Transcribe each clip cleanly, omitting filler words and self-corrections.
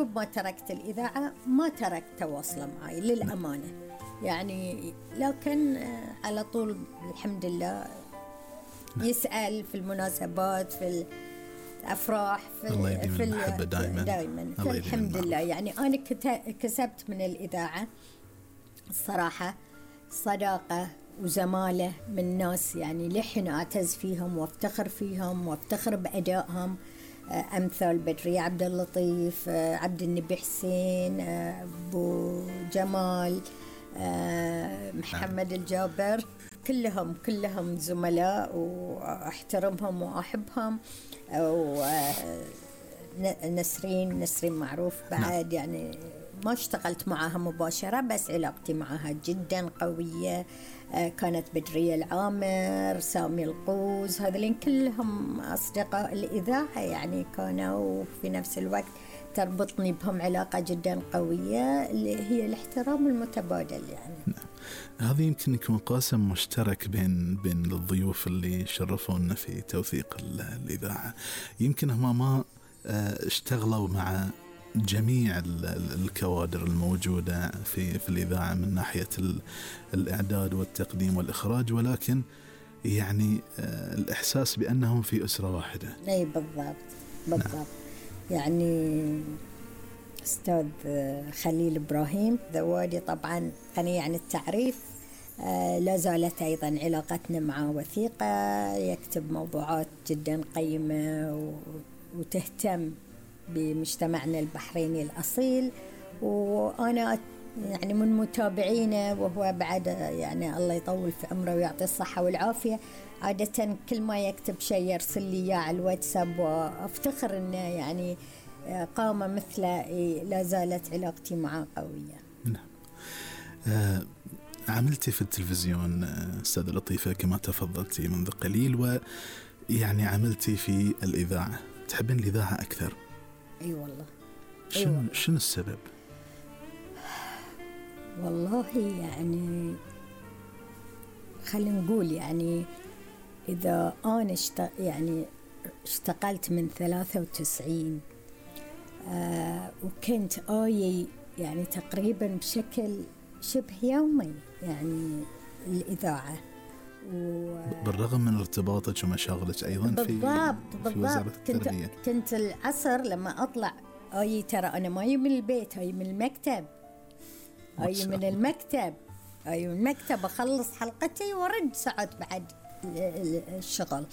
ما تركت الإذاعة ما تركت تواصله معي للأمانة يعني، لكن على طول الحمد لله يسأل في المناسبات، في الأفراح، الله يديم المحبة دائما فالحمد لله. يعني أنا كسبت من الإذاعة الصراحة صداقة وزمالة من ناس يعني لحين أعتز فيهم وافتخر فيهم وافتخر بأدائهم، أمثال بدرية عبد اللطيف، عبد النبي حسين، أبو جمال، محمد الجابر، كلهم زملاء وأحترمهم وأحبهم. ونسرين معروف بعد يعني ما اشتغلت معها مباشرة بس علاقتي معها جدا قوية. كانت بدرية العامر، سامي القوز، هذولين كلهم أصدقاء الإذاعة يعني، كانوا في نفس الوقت تربطني بهم علاقة جدا قوية اللي هي الاحترام المتبادل يعني. هذا يمكن يكون قاسم مشترك بين الضيوف اللي شرفونا في توثيق الإذاعة. يمكن هم ما اشتغلوا مع جميع الكوادر الموجودة في الإذاعة من ناحية الإعداد والتقديم والإخراج، ولكن يعني الإحساس بأنهم في أسرة واحدة. أي بالضبط. نعم. يعني أستاذ خليل إبراهيم ذوادي طبعا غني عن التعريف، لا زالت أيضا علاقتنا معه وثيقة، يكتب موضوعات جدا قيمة وتهتم بمجتمعنا البحريني الأصيل، وأنا يعني من متابعينه، وهو بعد يعني الله يطول في عمره ويعطي الصحة والعافية. عادة كل ما يكتب شيء يرسل لي إياه على الواتساب، وأفتخر إنه يعني قامة مثله لا زالت علاقتي معه قوية. نعم. عملتي في التلفزيون أستاذة لطيفة كما تفضلتي منذ قليل، ويعني عملتي في الإذاعة، تحبين الإذاعة أكثر؟ أي والله. شنو السبب؟ والله يعني خلينا نقول يعني إذا أنا يعني اشتغلت من 93 وكنت آية يعني تقريبا بشكل شبه يومي يعني الإذاعة، بالرغم من ارتباطك ومشاغلك أيضا في وزارة التربية. كنت العصر لما أطلع آية، ترى أنا ما من البيت، آية من المكتب، آية من المكتب أخلص حلقتي ورد ساعات بعد الشغل،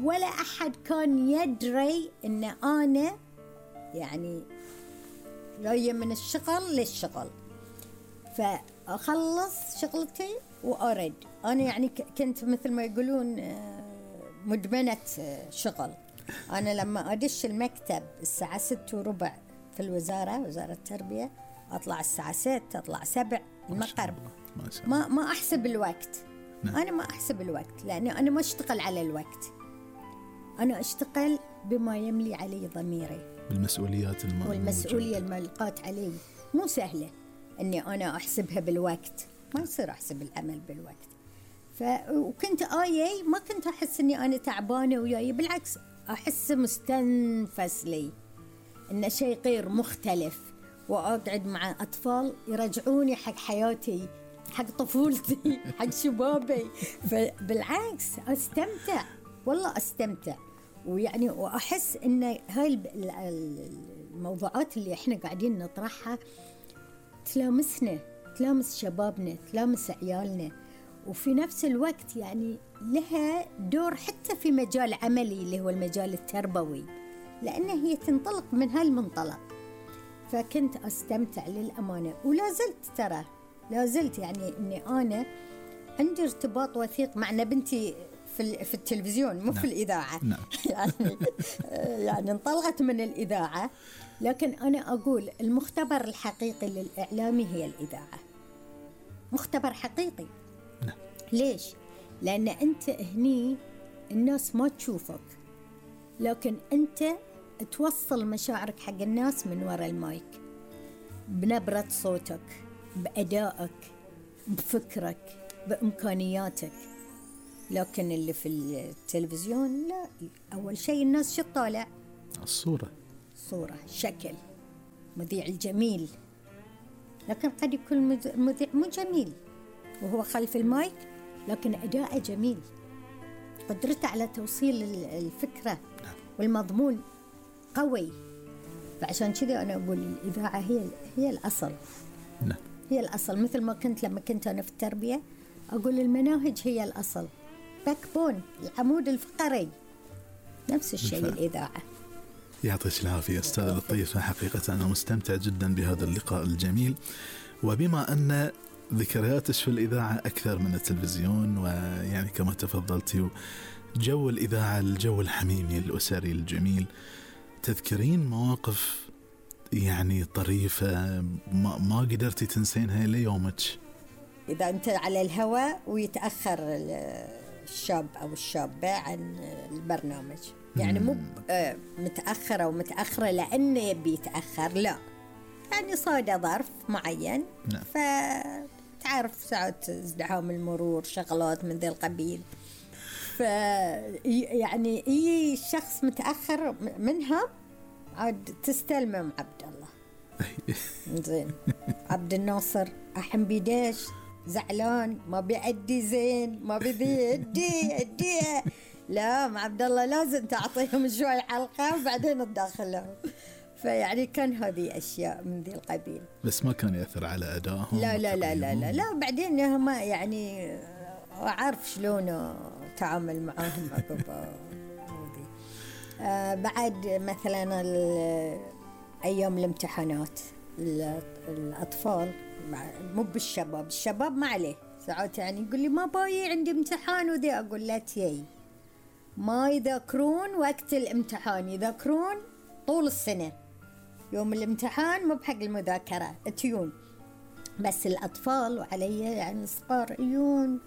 ولا أحد كان يدري إن أنا يعني جاية من الشغل للشغل، فأخلص شغلتي وأرد. أنا يعني كنت مثل ما يقولون مدمنة شغل. أنا لما أدش المكتب الساعة 6:15 في وزارة التربية، أطلع الساعة 6، أطلع 7 المغرب، ما أحسب الوقت. أنا ما أحسب الوقت لأنه أنا ما أشتغل على الوقت، أنا أشتغل بما يملي علي ضميري، بالمسؤوليات والمسؤولية الملقات علي مو سهلة أني أنا أحسبها بالوقت، ما يصير أحسب العمل بالوقت. وكنت آية ما كنت أحس أني أنا تعبانة وياي، بالعكس أحس مستنفس لي، إنه شيء غير مختلف، وأقعد مع أطفال يرجعوني حق حياتي، حق طفولتي، حق شبابي. فبالعكس أستمتع، والله أستمتع، ويعني وأحس إن هاي الموضوعات اللي إحنا قاعدين نطرحها تلامسنا، تلامس شبابنا، تلامس عيالنا، وفي نفس الوقت يعني لها دور حتى في مجال عملي اللي هو المجال التربوي، لأنه هي تنطلق من هالمنطلق. فكنت أستمتع للأمانة، ولا زلت يعني إني أنا عندي ارتباط وثيق مع بنتي في التلفزيون، مو في الإذاعة. يعني انطلقت من الإذاعة، لكن أنا أقول المختبر الحقيقي للإعلامي هي الإذاعة، مختبر حقيقي. ليش؟ لأن أنت هني الناس ما تشوفك، لكن أنت توصل مشاعرك حق الناس من وراء المايك، بنبرة صوتك، بأدائك، بفكرك، بإمكانياتك. لكن اللي في التلفزيون لا، أول شيء الناس شو طالع؟ الصورة، شكل، مذيع الجميل، لكن قد يكون مذيع مو جميل وهو خلف المايك، لكن أداءه جميل، قدرته على توصيل الفكرة والمضمون قوي. فعشان كذا أنا أقول الإذاعة هي الأصل. هي الأصل، مثل ما كنت لما كنت أنا في التربية أقول المناهج هي الأصل، باك بون، العمود الفقري. نفس الشيء الإذاعة. يعطيك العافية أستاذة لطيفة، حقيقة أنا مستمتع جدا بهذا اللقاء الجميل، وبما أن ذكرياتك في الإذاعة أكثر من التلفزيون، ويعني كما تفضلتي جو الإذاعة الجو الحميمي الأسري الجميل، تذكرين مواقف يعني طريفة ما قدرتي تنسينها ليومك؟ إذا أنت على الهواء ويتأخر الشاب أو الشابة عن البرنامج، يعني مو متأخرة ومتأخرة لأنه بيتأخر، لا، يعني صاد ظرف معين. فتعرف ساعات ازدحام المرور، شغلات من ذي القبيل، يعني أي شخص متأخر منها عاد تستلمم عبد الله. زين، عبد الناصر أحن بيداش زعلان، ما بيأدي زين، ما بيدي أدي لا، مع عبد الله لازم تعطيهم شوي حلقة وبعدين تداخلهم. فيعني كان هذه أشياء من ذي القبيل، بس ما كان يأثر على أدائهم. لا لا لا لا لا, لا. بعدين هم يعني أعرف شلون تعامل معاهم عقب. بعد مثلا أيام الامتحانات الأطفال، مو بالشباب، الشباب ما عليه ساعات يعني يقول لي ما باي عندي امتحان وذي، أقول لا تيي، ما يذاكرون وقت الامتحان، يذاكرون طول السنة، يوم الامتحان مو بحق المذاكرة تيون. بس الأطفال وعلي يعني صغار يون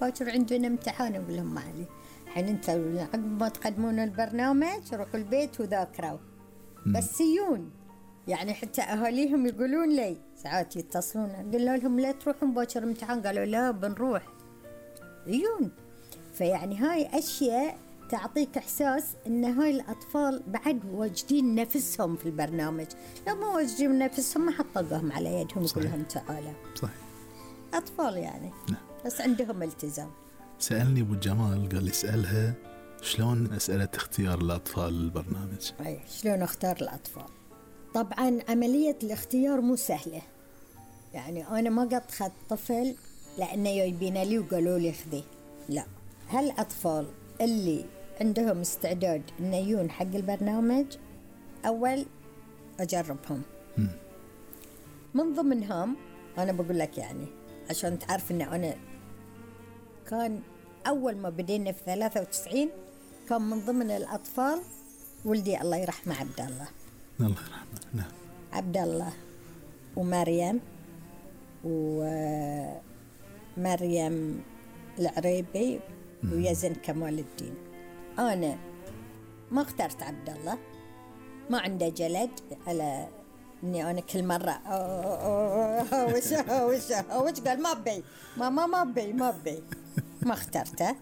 باكر عندنا امتحان، أقول لهم ما عليه، الحين انت عقب ما تقدمون البرنامج روحوا البيت وذاكروا، بس يون. يعني حتى أهاليهم يقولون لي ساعات يتصلون، أقول لهم لا تروحون باكر امتحان، قالوا لا بنروح يون. فيعني هاي أشياء تعطيك إحساس إن هاي الأطفال بعد واجدين نفسهم في البرنامج، لو ما واجدين نفسهم ما حطقهم على يدهم كلهم تعالى. صحيح. أطفال يعني. بس عندهم التزام. سألني أبو جمال قال لي اسألها شلون مسألة اختيار الأطفال للبرنامج. أي شلون اختار الأطفال. طبعا عملية الاختيار مو سهلة، يعني أنا ما قد خدت طفل لأنه يبين لي وقالوا لي خذيه، لا، هالأطفال اللي عندهم استعداد إن يجون حق البرنامج أول أجربهم. من ضمنهم أنا بقول لك يعني عشان تعرف إن أنا كان أول ما بدينا في 93 كان من ضمن الأطفال ولدي الله يرحمه عبد الله. الله يرحمه. نعم. عبد الله ومريم ومريم العريبي ويزن كمال الدين. أنا ما اخترت عبد الله، ما عنده جلد على إني أنا كل مرة وش قال ما بي ماما ما بي ما اخترته.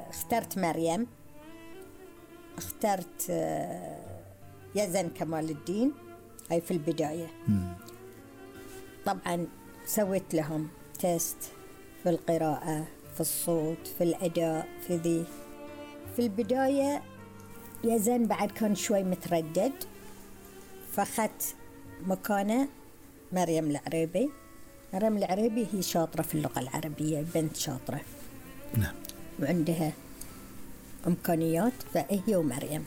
اخترت مريم، اخترت يزن كمال الدين، هاي في البداية. طبعا سويت لهم تيست في القراءة، في الصوت، في الأداء، في ذي. في البداية يزن بعد كان شوي متردد، فأخذت مكانه مريم العريبي. مريم العريبي هي شاطرة في اللغة العربية، بنت شاطرة. نعم. وعندها إمكانيات، فهي ومريم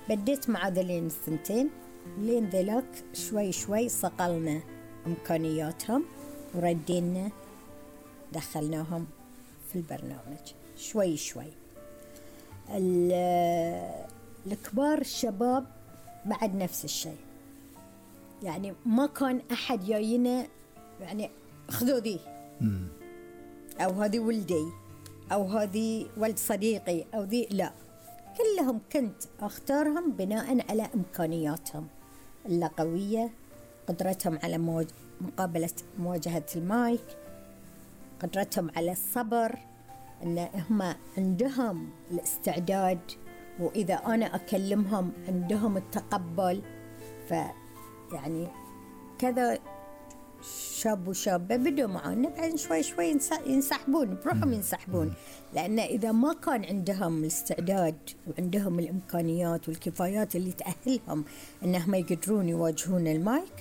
بديت مع ذلين الثنتين، لين ذلك شوي شوي صقلنا إمكانياتهم وردينا دخلناهم في البرنامج شوي شوي. الكبار الشباب بعد نفس الشيء، يعني ما كان أحد جاينا يعني خذوا ذي أو هذه ولدي أو هذه ولد صديقي أو ذي، لا، كلهم كنت أختارهم بناء على إمكانياتهم اللغوية، قدرتهم على مواجهة المايك، قدرتهم على الصبر، أن هم عندهم الاستعداد، وإذا أنا أكلمهم عندهم التقبل. يعني كذا شاب وشابة بدوا معنا، بعدين شوي شوي ينسحبون بروحهم، ينسحبون، لأن إذا ما كان عندهم الاستعداد وعندهم الإمكانيات والكفايات اللي تأهلهم أنهم يقدرون يواجهون المايك،